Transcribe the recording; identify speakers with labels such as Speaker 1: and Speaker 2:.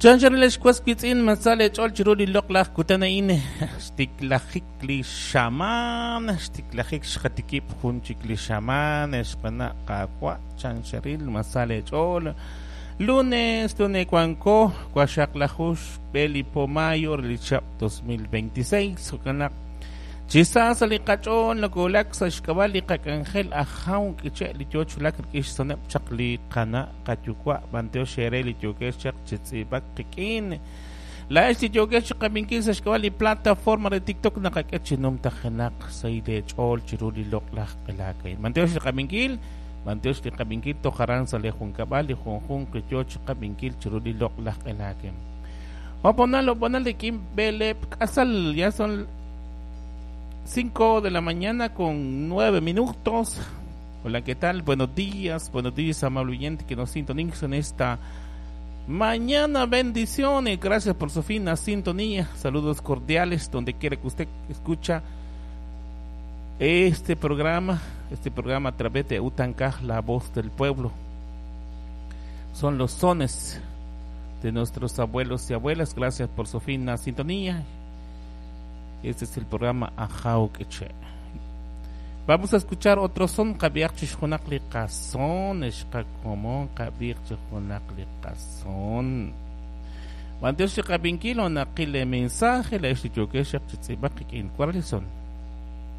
Speaker 1: Chanchan lex was wiitz'in ma sa leech'ool chiru li loq'laj kutan a'in xtiklajik li xamaan xtiklajik xqatikib' jun chik li xamaan xqana' qaawa' chancharil ma sa leech'ool lunes lunes wanko waxaqlaju xb'e li po mayo re li chihab' 2026 jo'kan naq chi sa sa' li qach'ool nokowulak sa' xk'ab'a' li qak'anjel ajaw k'iche' li yoo chi wulak rik'in xsoneb' chaq li qana' qayuwa' b'antiox eere li yookex chaq chi tz'iib'ak qik'in. Laa'ex li yookex chi qab'inkil sa' xk'ab'a' li plataforma re TikTok naqak'e chi numtajenaq sahil eech'ool chiru li loq'laj q'elaak a'in. B'antiox li qab'inkil, b'antiox li qab'inkil toj aran sa' li junkab'al li junjunq li yoo chi qab'inkil chiru li loq'laj q'elaak a'in. Oponal, oponal rik'in b'eleeb' k'asal, ya son 5 de la mañana con 9 minutos. Hola, ¿qué tal? Buenos días, amable oyente que nos sintoniza en esta mañana. Bendiciones, gracias por su fina sintonía. Saludos cordiales donde quiera que usted escucha este programa a través de Utancaj, la voz del pueblo. Son los sones de nuestros abuelos y abuelas. Gracias por su fina sintonía. Este es el programa Ajaw K'iche'. Vamos a escuchar otro son, qab'iaq chi junaq li qason, xqakomon qab'iq chi junaq li qason. B'antiox li qab'inkil o naqil le mensaje, la ex li yookex chi tz'iib'ak qik'in. ¿Cuál son?